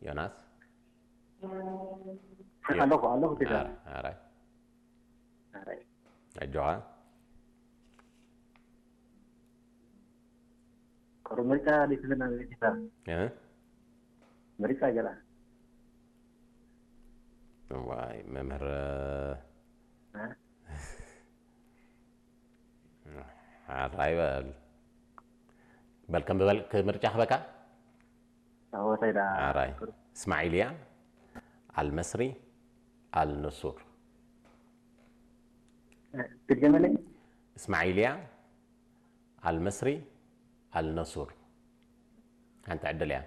ዮናስ ኣለኹ ኣለኹ ጌታ ኣራይ ኣራይ ኣጆኻ ቁሩብ ምርጫ ዘይትብለና ጌታ እ? ምርጫ ገላ ዋይ መምህር እ? ኣራይ በል በል ከም በል ምርጫ ክበካ ኣወታይ ዳ ኣራይ እስማዒልያ ኣልመስሪ ኣልንሱር ትድገመለይ እስማዒልያ ኣልመስሪ ኣልነሱር ሓንቲ ዕድል እያ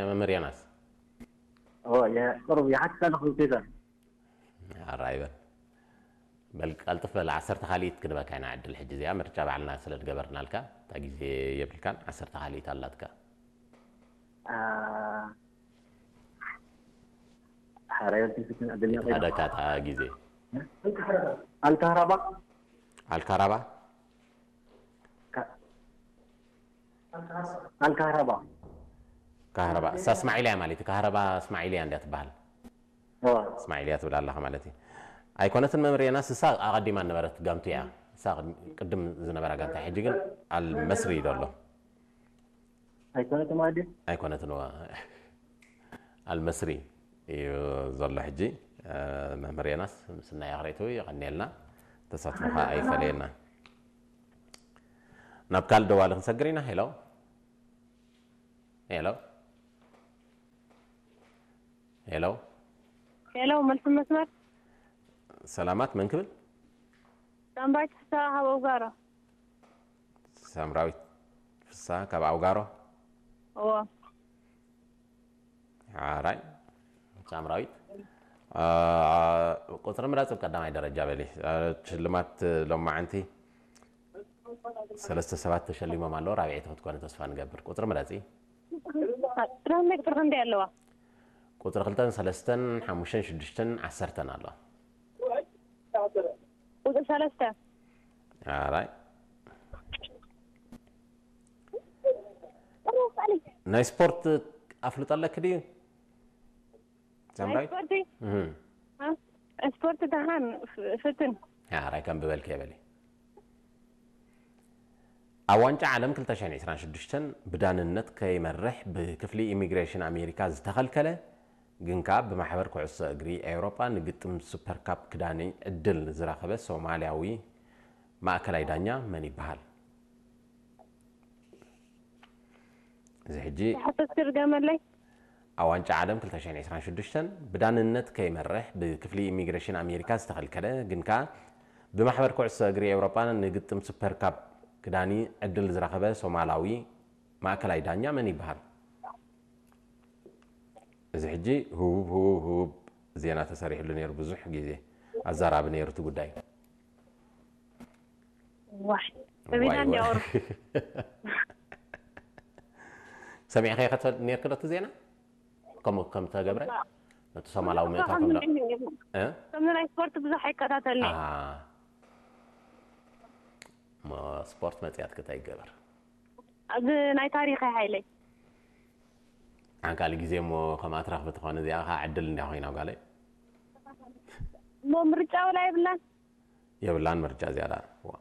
መምህር ዮናስ ቁሩብ ይሓትት ኣለኹ ጌታ ኣራይ በል በል ቀልጥፍ በል ዓሰርተ ካልኢት ክንበካ ኢና ዕድል ሕጂ እዚኣ ምርጫ ባዕልና ስለ ዝገበርናልካ እታ ግዜ የብልካን ዓሰርተ ካልኢት ኣላትካ ሓራዮት ዝፍትን ዕድል ተደካ እታ ግዜ ኣልካህራባ ኣልካራባ ኣልካህራባ ካህረባ እሳ እስማዒልያ ማለት እዩ ካህረባ እስማዒልያ እንድያ ትበሃል እስማዒልያ ትብል ኣለኻ ማለት እዩ ኣይኮነትን መምህር ዮናስ እሳ ኣቐዲማ ነበረት ጋንቱ እያ እሳ ቅድም ዝነበራ ጋንታ ሕጂ ግን ኣልመስሪ እዩ ዘሎ ኣይኮነትን ማለት ኣይኮነትን ኣልመስሪ እዩ ዘሎ ሕጂ መምህር ዮናስ ምስናይ ኣኽሬቱ የቐንየልና ተሳትፎኻ ኣይፈለየና ናብ ካልእ ደዋሊ ክንሰግር ኢና ሄሎ ሄሎ ሄሎ ሄሎ መልሲ መስመር ሰላማት መን ክብል ሳምራዊት ፍስሃ ካብ ኣውጋሮ ሳምራዊት ፍስሃ ካብ ኣውጋሮ እዎ ሓራይ ሳምራዊት ቁፅሪ ምረፅ ቀዳማይ ደረጃ በሊ ሽልማት ሎማዓንቲ ሰለስተ ሰባት ተሸሊሞም ኣለዉ ራብዐይቲ ክትኮነ ተስፋ ንገብር ቁፅሪ ምረፂ ጥራመ ቁጥሪ ክንደይ ኣለዋ ቁፅሪ ክልተን ሰለስተን ሓሙሽተን ሽዱሽተን ዓሰርተን ኣለዋ ቁፅሪ ሰለስተ ኣራይ ናይ ስፖርት ኣፍልጦ ኣለክ ድዩ ናይ ስፖርቲ ስፖርቲ ደሓን ፍትን ራይ ከም ብበልክ የበሊ ኣብ ዋንጫ ዓለም ክልተ ሽሕን ዕስራን ሽዱሽተን ብዳንነት ከይመርሕ ብክፍሊ ኢሚግሬሽን ኣሜሪካ ዝተኸልከለ ግን ከኣ ብማሕበር ኩዕሶ እግሪ ኤውሮጳ ንግጥም ሱፐር ካፕ ክዳኒ ዕድል ዝረኸበ ሶማልያዊ ማእከላይ ዳኛ መን ይበሃል? እዚ ሕጂ ሓተት ትርገመለይ ኣብ ዋንጫ ዓለም ክልተ ሽሕን ዕስራን ሽዱሽተን ብዳንነት ከይመርሕ ብክፍሊ ኢሚግሬሽን ኣሜሪካ ዝተኸልከለ ግን ከኣ ብማሕበር ኩዕሶ እግሪ ኤውሮጳ ንግጥም ሱፐር ካፕ ክዳኒ ዕድል ዝረኸበ ሶማላዊ ማእከላይ ዳኛ መን ይበሃል? እዚ ሕጂ ህቡብ ህቡብ ህቡብ ዜና ተሰሪሕሉ ነይሩ ብዙሕ ግዜ ኣዛራቢ ነይሩ እቲ ጉዳይ ዋይ ሰቢና እንዲያወሩ ሰሚዕኸ ከተል ነርክ ዶ እቲ ዜና ከምኡ ከም ተገብረ ነቲ ሶማላዊ ምእታ ከም ዶ እ? ከምዚ ናይ ስፖርት ብዙሕ ኣይከታተልኒ ኣሃ። እሞ ስፖርት መፅያት ክታይ ይገበር ኣብዚ ናይ ታሪኸ ሓይለይ ሓንካሊ ግዜ እሞ ከም ኣትራኽቢ ትኾነ እዚኣ ከዓ ዕድል እንዲያ ኮይና ጓለይ እሞ ምርጫ ወላ የብላን የብላን ምርጫ እዚኣ ደኣ ዋ።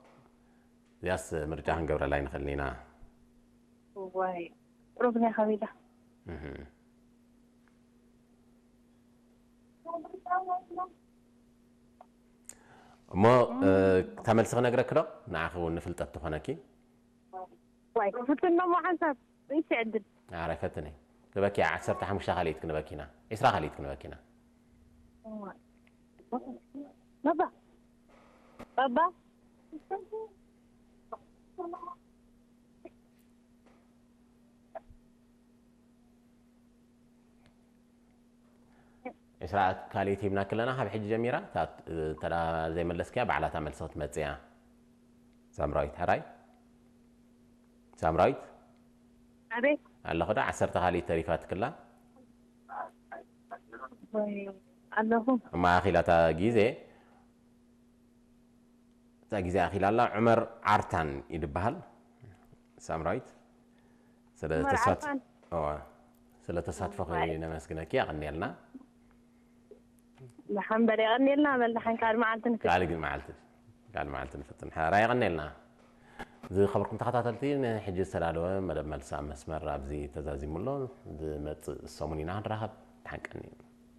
እዚኣስ ምርጫ ክንገብረላ ይንኽእልን ኢና ዋይ ሩብና ከቢዳ እህ። እሞ እታ መልሲ ክነግረክ ዶ ንዓኺ እውን ንፍልጠት ትኾነኪ ዋይ ፍትኖሞ ሓንሳብ ርእሲ ዕድል ኣረ ፈትኒ ንበኪ ዓሰርተ ሓሙሽተ ካልኢት ክንበኪና ዒስራ ካልኢት ክንበኪና ባባ ባባ ዒስራ ካልኢት ሂብናኪ ኣለና ካብ ሕጂ ጀሚራ እታ እንተ ዘይመለስክያ ባዕላታ መልሲ ክትመፅእ እያ ሳምራዊት ሕራይ ሳምራዊት ኣቤት ኣለኹ ዶ ዓሰርተ ካልኢት ተሪፋትክላ ወይ ኣለኹ። እማ ኣኺላ እታ ግዜ እታ ግዜ ኣኺላ ኣላ። ዑመር ዓርታን ይድበሃል። ሳምራዊት ስለ ዑመር ተሳት ዓርታን። እዋ ስለ ተሳትፎኺ ነመስግነኪ። የቐንየልና። ደሓን በል የቐንየልና በል ደሓን ካልእ መዓልቲ ንክ ካልእ ግን መዓልቲ ካልእ መዓልቲ ንፍትን ሓራ። የቐንየልና። ዝኸበርኩም ተኸታተልቲ፣ ንሕጂ ዝተዳለወ መደብ መልሲ ኣብ መስመር ኣብዚ ተዛዚሙ ኣሎ። ዝመጽእ ሰሙን ኢና ክንራኸብ። ደሓን ቀኒ።